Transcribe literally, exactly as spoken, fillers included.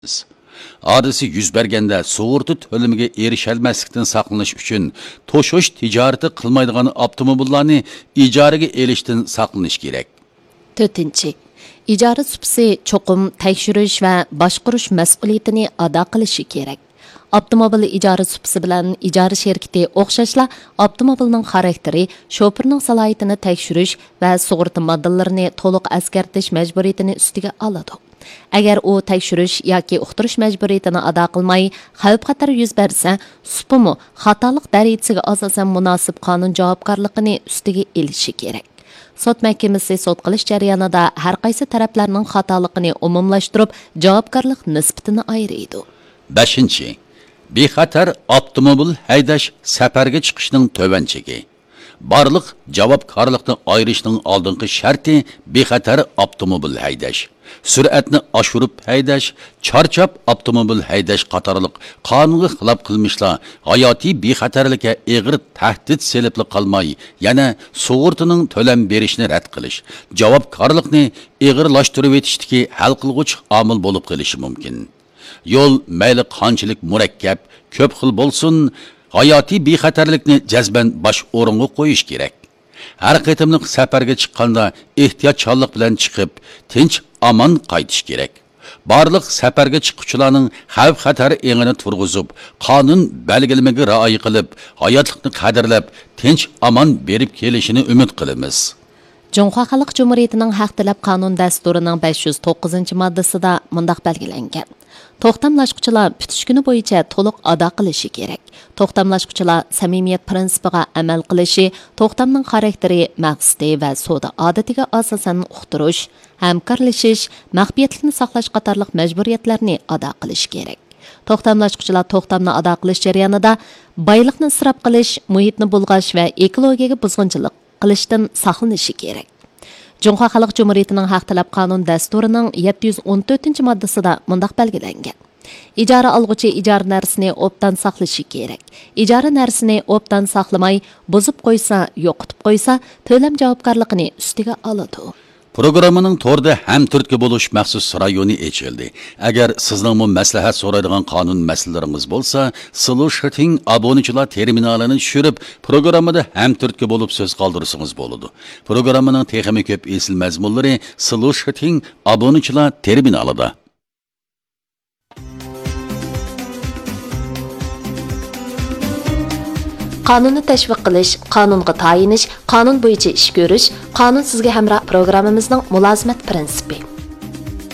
ھادىسە يۈز بەرگەندە سۇغۇرتا تۆلىمىگە ئېرىشەلمەسلىكتىن ساقلىنىش ئۈچۈن توشۇش تىجارىتى قىلمايدىغان ئاپتوموبىللارنى ئىجارىگە ئېلىشتىن ساقلىنىش كېرەك. تۆتىنچى، ئىجارە سۇپىسى چوقۇم تەكشۈرۈش ۋە باشقۇرۇش مەسئۇلىيىتىنى ئادا قىلىشى كېرەك. ئاپتوموبىل ئىجارە سۇپىسى بىلەن ئىجارە شىركىتى ئوخشاشلا ئاپتوموبىلنىڭ خاراكتېرى، شوپۇرنىڭ سالاھىيىتىنى تەكشۈرۈش ۋە سۇغۇرتا ماددىلىرىنى تولۇق ئەسكەرتىش مەجبۇرىيىتىنى ئۈستىگە ئالىدۇ. ئەگەر ئۇ تەكشۈرۈش ياكى ئۇقتۇرۇش مەجبۇرىيىتىنى ئادا قىلماي، خەۋپ-خەتەر يۈز بەرسە، سۇپىمۇ خاتالىق دەرىجىسىگە ئاساسەن مۇناسىپ قانۇن جاۋابكارلىقىنى ئۈستىگە ئېلىشى كېرەك. سوت مەھكىمىسى سوت قىلىش جەريانىدا ھەرقايسى تەرەپلەرنىڭ خاتالىقىنى ئومۇملاشتۇرۇپ، جاۋابكارلىق نىسبىتىنى ئايرىيدۇ. بەشىنچى، بىخەتەر ئاپتوموبىل ھەيدەش سەپەرگە چىقىشنىڭ تۆۋەن چېكى. بارلىق جاۋابكارلىقنى ئايرىشنىڭ ئالدىنقى شەرتى بىخەتەر ئاپتوموبىل ھەيدەش، سۈرئەتنى ئاشۇرۇپ ھەيدەش، چارچاپ ئاپتوموبىل ھەيدەش قاتارلىق قانۇنغا خىلاپ قىلمىشلار ھاياتىي بىخەتەرلىككە ئېغىر تەھدىت سېلىپلا قالماي، يەنە سۇغۇرتىنىڭ تۆلەم بېرىشنى رەت قىلىش، جاۋابكارلىقنى ئېغىرلاشتۇرۇۋېتىشتىكى ھەل قىلغۇچ ئامىل بولۇپ قېلىشى مۇمكىن. يول مەيلى قانچىلىك مۇرەككەپ، كۆپ خىل بولسۇن، ھاياتىي بىخەتەرلىكنى جەزمەن باش ئورۇنغا قويۇش كېرەك. ھەر قېتىملىق سەپەرگە چىققاندا ئېھتىياتچانلىق بىلەن چىقىپ، تىنچ ئامان قايتىش كېرەك. بارلىق سەپەرگە چىققۇچىلارنىڭ خەۋپ-خەتەر ئېڭىنى تۇرغۇزۇپ، قانۇن بەلگىلىمىگە رىئايە قىلىپ، ھاياتلىقنى قەدىرلەپ، تىنچ ئامان بېرىپ كېلىشىنى ئۈمىد قىلىمىز. جۇڭخۇا خەلق جۇمھۇرىيىتىنىڭ ھەق تەلەپ قانۇن دەستۇرىنىڭ بەش يۈز توققۇزىنچى ماددىسىدا مۇنداق بەلگىلەنگەن: توختاملاشقۇچىلار پۈتۈش كۈنى بويىچە تولۇق ئادا قىلىشى كېرەك. توختاملاشقۇچىلار سەمىمىيەت پىرىنسىپىغا ئەمەل قىلىشى، توختامنىڭ خاراكتېرى، مەقسىتى ۋە سودا ئادىتىگە ئاساسەن ئۇقتۇرۇش، ھەمكارلىشىش، مەخپىيەتلىكنى ساقلاش قاتارلىق مەجبۇرىيەتلەرنى ئادا قىلىشى كېرەك. توختاملاشقۇچىلار توختامنى ئادا قىلىش جەريانىدا بايلىقنى ئىسراپ قىلىش، مۇھىتنى بۇلغاش ۋە ئېكولوگىيەگە بۇزغۇنچىلىق قىلىشتىن ساقلىنىشى كېرەك. جۇڭخۇا خەلق جۇمھۇرىيىتىنىڭ ھەق تەلەپ قانۇن دەستۇرىنىڭ يەتتە يۈز ئون تۆتىنچى ماددىسىدا مۇنداق بەلگىلەنگەن: ئىجارە ئالغۇچى ئىجارە نەرسىنى ئوبدان ساقلىشى كېرەك. ئىجارە نەرسىنى ئوبدان ساقلىماي، بۇزۇپ قويسا، يوقىتىپ قويسا، تۆلەم جاۋابكارلىقىنى ئۈستىگە ئالىدۇ. پروگراممىنىڭ توردا ھەمتۈرتكە بولۇش مەخسۇس رايونى ئېچىلدى. ئەگەر سىزنىڭمۇ مەسلىھەت سورايدىغان قانۇن مەسىلىلىرىڭىز بولسا، سلۇشىتىڭ ئابۇنىچىلار تېرمىنالىنى چۈشۈرۈپ، پروگراممىدا ھەمتۈرتكە بولۇپ سۆز قالدۇرسىڭىز بولىدۇ. پروگراممىنىڭ تېخىمۇ كۆپ ئېسىل مەزمۇنلىرى سلۇشىتىڭ ئابۇنىچىلار تېرمىنالىدا. قانۇننى تەشۋىق قىلىش، قانۇنغا تايىنىش، قانۇن بويىچە ئىش كۆرۈش، قانۇن سىزگە ھەمراھ پروگراممىمىزنىڭ مۇلازىمەت پىرىنسىپى.